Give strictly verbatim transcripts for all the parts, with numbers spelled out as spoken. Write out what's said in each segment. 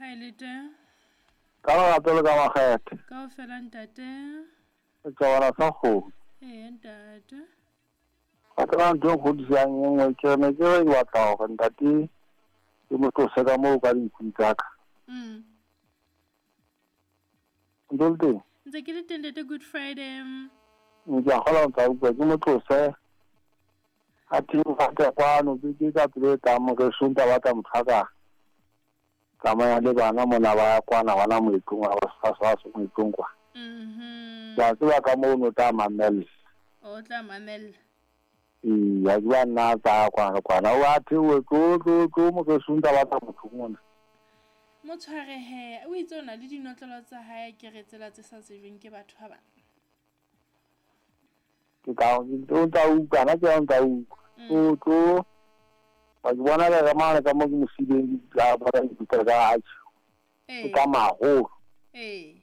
Ha e le teng. Ka lerato le ka makgethe. Kaofela ntate. Setjhabana sa kgomo. Ee ntate. Wa tseba ntho e nkgodisang e nngwe ke ne ke re ke batla hore ntate ke mo tlose ka moo ka dinku tsa ka. Mm. Ntse o le teng? Ntse ke le teng ntate Good Friday. Ke a kgolwa o ntsa utlwa ke mo tlose. A theoha kwano ke ke ka pelo e tlang moreso ntse a batla motho a ka tsamaya le bana mona ba ya kwana hona moetlong wa ba moetlong kwa. Mhm. Ke a tseba ka moo o tla mamella. O tla mamella. Ee, a ke ba nna a tsaya kwana le kwana. O a theohe tlo tlo tlo moreso ntse a batla motho mona. Mo tshware he, o itse o na le dinotlolo tsa hae ke re tsela tse sa tsejweng ke batho ba bang. Ke ka o ntsa utlwa nna ke o ntsa utlwa. Tlo tlo wa ke bona le mane ka mo ke mo sileng ke a bona dikuta ka atjhe. Ee. Ke ka maholo. Ee.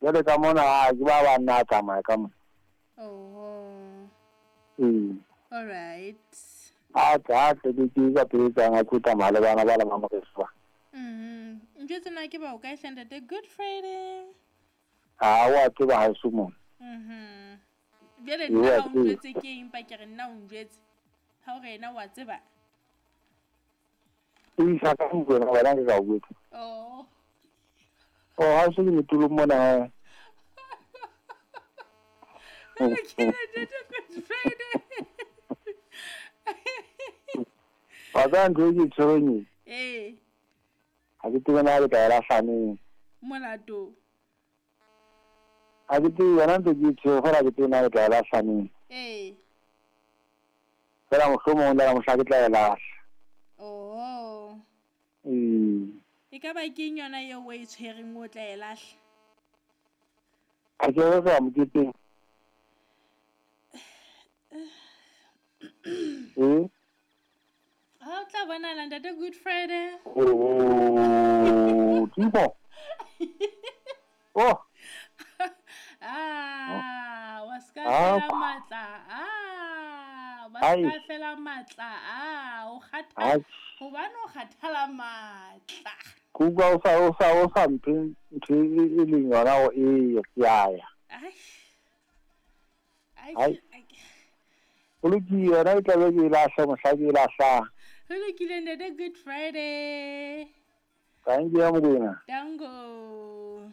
Jwale ka mona ha ke ba ba nna a tsamaya ka mona. Oho. Ee. All right. A tle a tle ke ke ka pele tsang a tlo tsamaya le bana ba le ba moreso ba. Mhm. Njwetse na ke ba o kae hle ntate Good Friday. Ha wa tseba ha eso mona. Mhm. Jwale Ee, nna wa ha o tseba. njwetse ke eng pa ke re nna o njwetse. Ha o re yena wa tseba. O isa ka ntlong wena ke ka o jwetsa. Oh. Oh, ha se ke metulong mona he. Ho lokile ntate Good Friday. Wa tseba ntho e ke e tshwereng e. Ee. Ha ke tsebe na ke tla e lahla neng. Molato. Ha ke tsebe yona ntse ke e tshwere feela ha ke tsebe na ke tla e lahla neng. Ee. Feela mohlomong le ka mohla ke tla e lahla. Oho. Ee. E ka ba keng yona eo o e tshwereng o tla e lahla? Ha ke re re ya moketeng. Ee. Ha o tla bonahala ntate Good Friday. Oh, Timo. Oh. Ah, wa ska Ah. fela matla. Ah, wa Ai. ska fela matla. Ah, o kgatha. Ai. Hobane o kgathala matla. Ke utlwa o sa o sa o sa mphe ntho e e leng yona hore ee ke a ya. Ai. Ai. Ai. Ai. Ho lokile yona e tla be ke e lahla mohla ke e lahlang. Ho lokile ntate Good Friday. Thank you Mokoena. Dango.